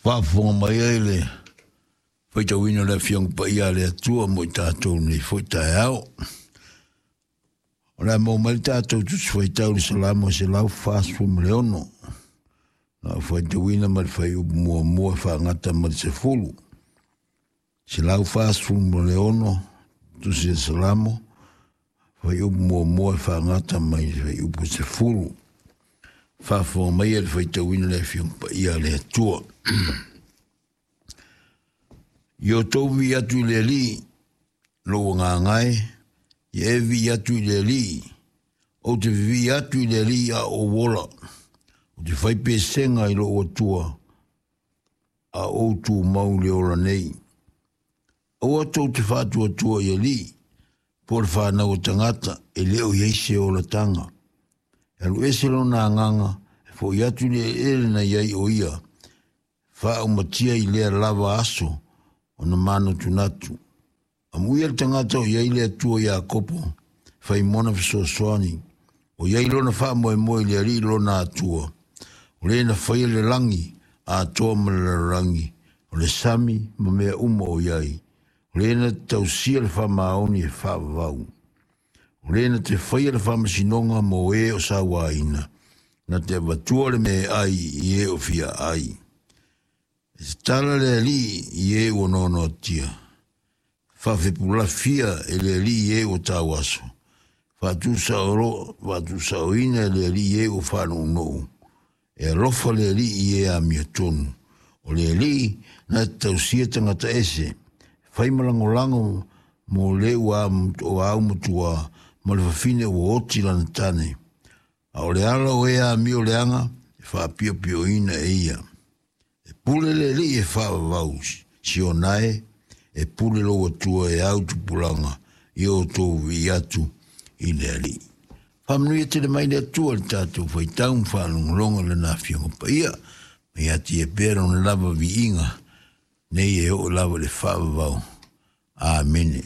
Faafofoga mai ai le faitauina o le Afioga Paia a le Atua mo i tatou nei foi taeao. O le a maua mai le tatou Tusi Faitau i le Salamo 146. Na ou faitauina ma le fuaiupu muamua e faagata ma le 10. 146 Tusi o Salamo, fuaiupu muamua e faagata mai le fuaiupu 10. Faafofoga mai le faitauina le Afioga Paia a le Atua. I o tou vii atu i le Alii, lou agaga e, ia e vii atu i le Alii, ou te vivii atu i le Alii a ou ola, ou te fai pesega i lou Atua, a ou tumau i le ola nei. Aua tou te faatuatua i alii, po o le fanau a tagata, e le o i ai se olataga. E alu ese lona agaga, e foi atu i le eleele na i ai o ia, faaumatia i lea lava aso ona manatunatu. Amuia le tagata o i ai le Atua Iakopo, fai mona fesoasoani, o i ai lona faamoemoe i le Alii lona Atua, o le na faia le lagi atoa ma le lalolagi, o le sami ma mea uma o i ai, o le na te tausia le faamaoni e faavavau, o le na te faia le faamasinoga mo e o sauaina, na te avatua le meaai i e o fia ai. E tatala le Alii i e ua noanoatia, faafepulafia e le Alii e ua tauaso, faatusaoina e le Alii e ua faanounou, e alofa le Alii i e amiotonu. O le Alii na te tausia tagata ese, fai ma lagolago mo le ua aumatua ma le fafine ua oti lana tane. A o le ala o e amio leaga, e faapiopioina e ia. E pule le Alii e faavavau, Siona e, e pule lou Atua e au tupulaga i o outou vivii atu i le Alii. Faamanuia tele mai le Atua i le tatou faitau ma faalogologo i Lana Afioga Paia, ma ia atia pea Lona lava viiga nei e oo lava i le faavavau. Amene.